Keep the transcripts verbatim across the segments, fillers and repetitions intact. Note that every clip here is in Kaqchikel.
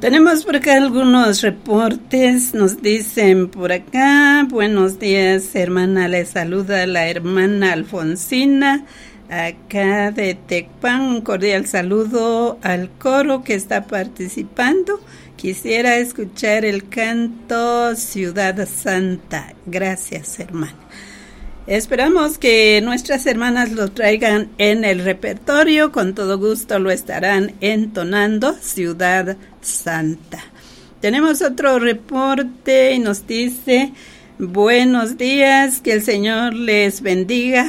Tenemos por acá algunos reportes, nos dicen por acá, buenos días hermana, le saluda la hermana Alfonsina, acá de Tecpan, un cordial saludo al coro que está participando. Quisiera escuchar el canto Ciudad Santa. Gracias, hermana. Esperamos que nuestras hermanas lo traigan en el repertorio, con todo gusto lo estarán entonando, Ciudad Santa. Tenemos otro reporte y nos dice, buenos días, que el Señor les bendiga.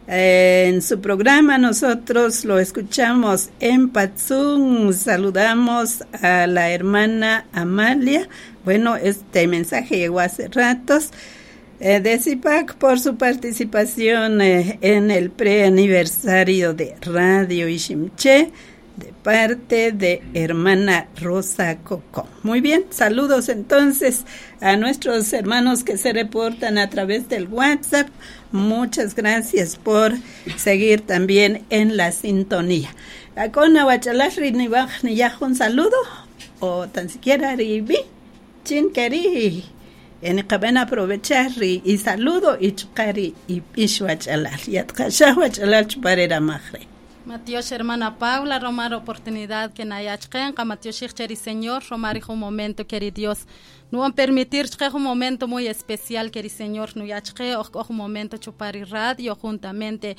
Eh, en su programa nosotros lo escuchamos en Patzún, saludamos a la hermana Amalia. Bueno, este mensaje llegó hace ratos. Eh, de CIPAC por su participación eh, en el preaniversario de Radio Iximché de parte de hermana Rosa Coco. Muy bien, saludos entonces a nuestros hermanos que se reportan a través del WhatsApp. Muchas gracias por seguir también en la sintonía. Un saludo o tan siquiera ribi chin keri en qaben aprovechar y saludo y chukari y ishwachalal yatqashah wachalal chuparera majre. Matios hermana Paula, romar oportunidad que nayachqen, Matios cheri Señor, romar un momento queri Dios. No permitir que un momento muy especial queri Señor no yachqe o un momento chupari radio juntamente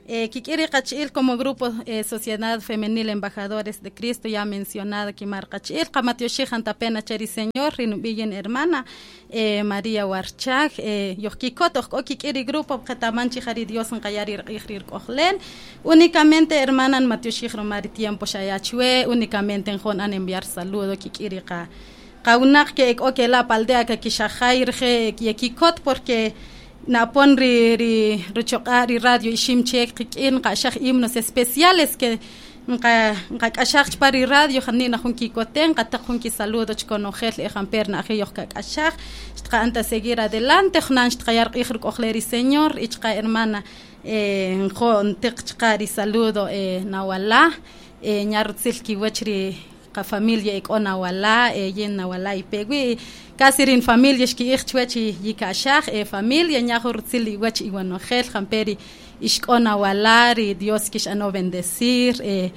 eh kikiri qachil como grupo eh, Sociedad Femenil Embajadores de Cristo ya mencionada que marqachil qamatio pena cheri Señor rinubiyen hermana eh, María Warchak eh yoqkikot o kikiri grupo qatamanchi jari Dios nqayari rir kojlen únicamente hermana Mateo romari tiempo xayachwe únicamente en an enviar saludo kikiri qa qawnak que o que la paldea que kixajair je yekikot porque napon ri ri ruchoqa ri radio Iximché qikin qashaj himnos especiales que nqa nqa k'axaj chpari radio janina jun kikoten qataq jun kisaludo chkonojel ejamper na ajiyoq kak'axaj xtqa anta seguir adelante jnan xtqayar q'ij ruk'ojleri Señor ichqa hermana eh njo ntiq chqa ri saludo eh nawala eh ñarrutzil kiwach ri qa familia ik'o nawala eh yin nawala ipewi casi rin familia xki'ij chwach yik'axaj eh familia ñajo rutzil iwach iwanojel jamperi ixk'o nawala ri Dios kix'ano bendecir eh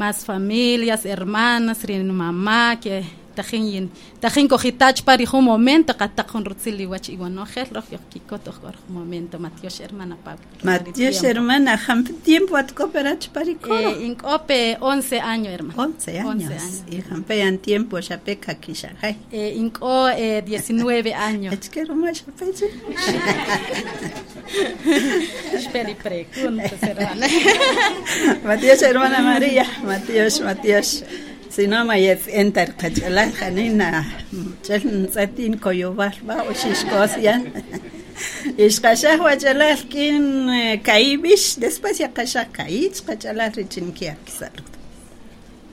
más familias hermanas rin mamá que tajin yin tajin kojitach pari jun momento qataq jun rutzil iwach iwanojel roj yoqkikot oj momento Matios hermana Pablo Matios hermana jamp tiempo atkoperach pari coro eh, inkope once años hermana once años, once años. Y jampean tiempo xapeka kixajay eh, inko eh, diecinueve años achkero ma xapeche Esperi preguntas hermana Matios hermana María Matios Matios si no mayet entar qachalal janina chel ntz'atin koyobal ba o xixkosyan ixqaxaj wachalal kin kaibish después ya qaxaj kaich qachalal richin kiak saludo.